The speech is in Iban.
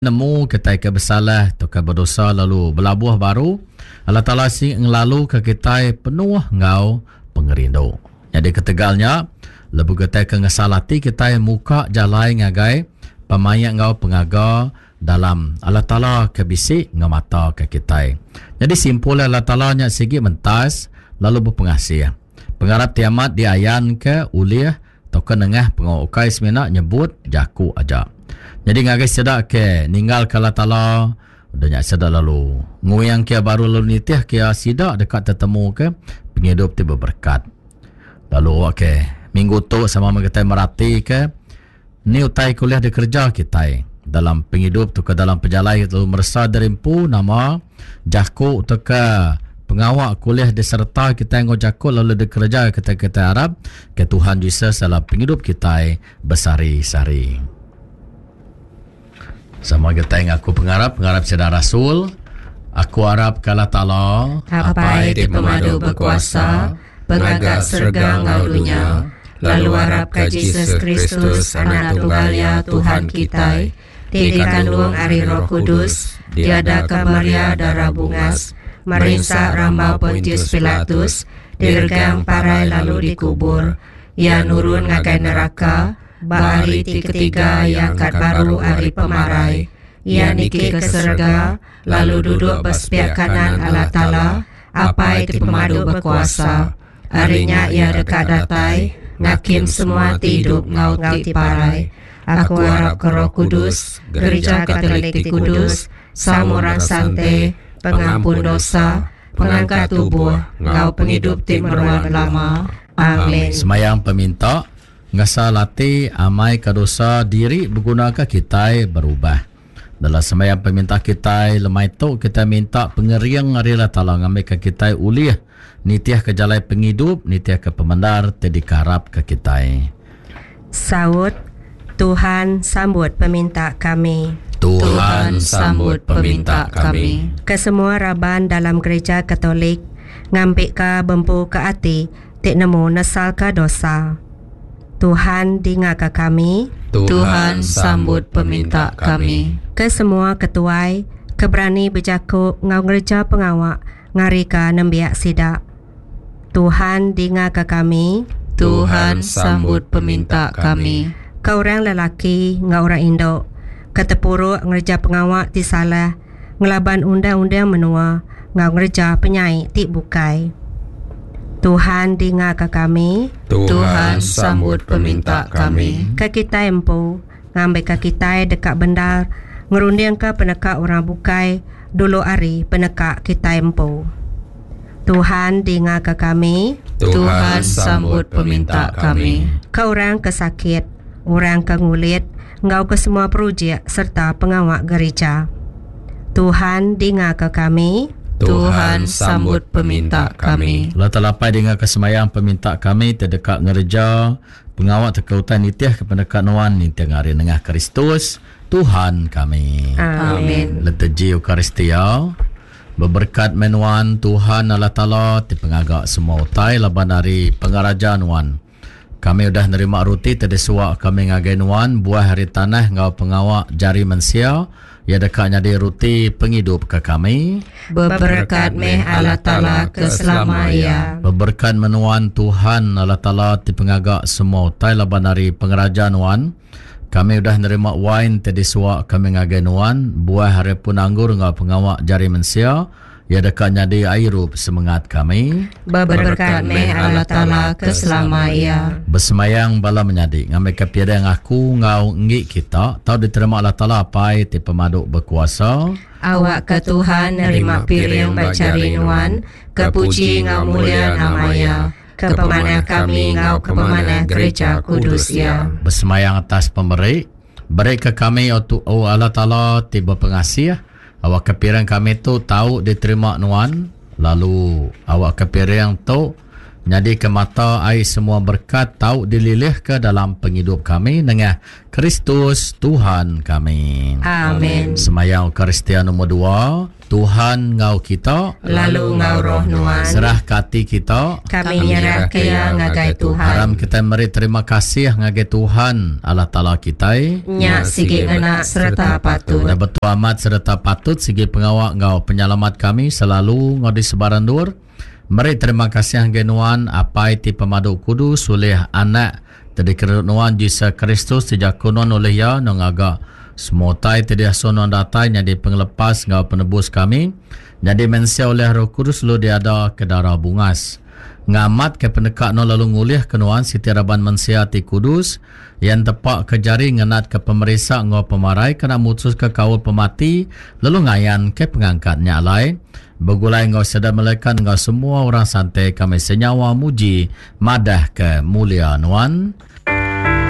Nemu kitai ke besalah tauka bedosa lalu belabuh baru, Allah Taala sigi ngelaluka kitai penuh enggau pengerindu. Nyadi ketegal nya, lebuh kitai ke ngesal ati kitai muka jalai ngagai pemaik enggau pengaga dalam Allah Taala ke bisi ngemataka kitai. Nyadi simpul Allah Taala nya sigi mentas lalu bepengasih. Pengarap ti amat diayanka ulih tauka nengah pengawa ukai semina nyebut jaku aja. Nyadi ngagai sida ke ninggalka Allah Taala, udah nya sida lalu nguingka iya baru lalu nitihka iya, sida deka tetemuka pengidup ti beberekat. Lalu awakka minggu tu sama meh kitai meratika ni utai ke ulih dikereja kitai dalam pengidup tauka dalam pejalai lalu meresa diri empu nama Jaku tauka pengawa ke ulih disereta kitai enggau jaku lalu dikereja kitai kitai arap ke Tuhan Jesus dalam pengidup kitai besehari-sehari. Sama kitai ngaku pengarap pengarap sida rasul, aku arap ke Allah Taala, Apai ti pemadu bekuasa, pengaga serega enggau dunya, lalu arap ka Jesus Kristus Anak tunggal Iya Tuhan kitai, ti dikandung ari Roh Kudus, diadaka Maria dara bungas, merinsa rambau Pontius Pilatus, diregang parai lalu dikubur, iya nurun ngagai neraka, ba hari ti ketiga iya angkat baru ari pemarai, iya niki ke serega, lalu duduk ba sepiak kanan Allah Taala, Apai ti Pemadu Bekuasa. Ari nya iya deka datai ngakim semua ti idup enggau ti parai. Aku arapka Roh Kudus, Gerija Katolik ti kudus, saum orang sante, pengampun dosa, pengangkat tubuh, enggau pengidup ti meruan belama. Amin. Semayang peminta, ngesal ati amai ka dosa diri begunaka kitai berubah. Dalam sembahyang peminta kitai lemai tu kitai minta pengering ari Allah Taala ngambika kitai ulih nitihka jalai pengidup nitihka pemendar ti dikearapka kitai. Saut, Tuhan sambut peminta kami. Tuhan sambut peminta kami. Kesemua raban dalam Gereja Katolik ngambika bempuka ati ti nemu nesalka dosa. Tuhan dingaka kami. Tuhan sambut peminta kami. Ke semua ketuai ke berani bejaku enggau ngereja pengawa ngarika nembiak sida. Tuhan dingaka kami. Tuhan sambut peminta kami. Ke orang lelaki enggau orang indu ke tepuruk ngereja pengawa ti salah ngelaban undang-undang menua enggau ngereja penyai ti bukai. Tuhan dingaka kami. Tuhan sambut peminta kami. Ke kitai empu, ngambika kitai deka bendar ngerundingka peneka orang bukai dulu ari peneka kitai empu. Tuhan dingaka kami. Tuhan sambut peminta kami. Ke orang ke sakit, orang ke ngulit, enggau ke semua projek sereta pengawa gerija. Tuhan dingaka kami. Tuhan sambut peminta kami. Lalu telapai dingaka sembahyang peminta kami ti deka ngereja pengawa teka utai nitihka peneka Nuan ninting hari nengah Kristus, Tuhan kami. Amin. Liturgi Eucharistia, Beberekat meh Nuan, Tuhan Allah Taala ti pengaga semua utai laban ari pengaraja Nuan. Kami udah nerima ruti ti disuwa kami ngagai Nuan, buah ari tanah enggau pengawa jari mensia, iya deka nyadi ruti pengidup ke kami. Beberekat meh Allah Taala ke selama iya. Beberekat meh Nuan, Tuhan, Allah Taala ti pengaga semua utai laban ari pengeraja Nuan, kami udah nerima wain ti disuwa kami ngagai Nuan, buah ari pun anggur enggau pengawa jari mensia, Iya deka nyadi airup semengat kami. Beberekat meh Allah Taala ke selama iya. Besemayang bala menyadi ngambika piring aku enggau enggi kita tau diterima Allah Taala Apai ti pemadu bekuasa. Awakka Tuhan nerima piring ba jari nuan, ke puji enggau mulia nama Iya, ke pemanah kami enggau ke pemanah gereja kudus Iya. Besemayang atas pemeri, berika kami, O Allah Taala ti bepengasih, Awakka piring kami tu tau diterima Nuan, lalu awakka piring tu Nyadika mata ai semua berekat tau dililihka dalam pengidup kami nengah Kristus Tuhan kami. Amen. Semayang Eucharistia nomor dua, Tuhan enggau kita. Lalu enggau roh nuan. Serahka ati kita. Kami nyerahka iya ngagai Tuhan. Aram kitai meri terima kasih ngagai Tuhan Allah Taala kitai. Nya sigi ngena sereta patut. Nya betul amat sereta patut sigi pengawa enggau penyelamat kami selalu enggau di sebarang endur. Meri terima kasih ngagai Nuan, Apai ti Pemadu Kudus, ulih Anak ti dikerindu Nuan, Jesus Kristus, ti jaku Nuan ulih Iya enggau ngaga semua utai ti diasuh Nuan datai nyadi Pengelepas enggau Penebus kami, nyadi mensia ulih Roh Kudus lalu diada ke dara bungas. Ngamatka peneka Nuan lalu ngulihka Nuan siti raban mensia ti kudus, Iya entepaka jari ngenatka pemerisa enggau pemarai kena mutuska kaul pemati lalu ngayanka pengangkat nya alai Begulai enggau sida melikat enggau semua orang santai kami senyawa muji madahka mulia Nuan.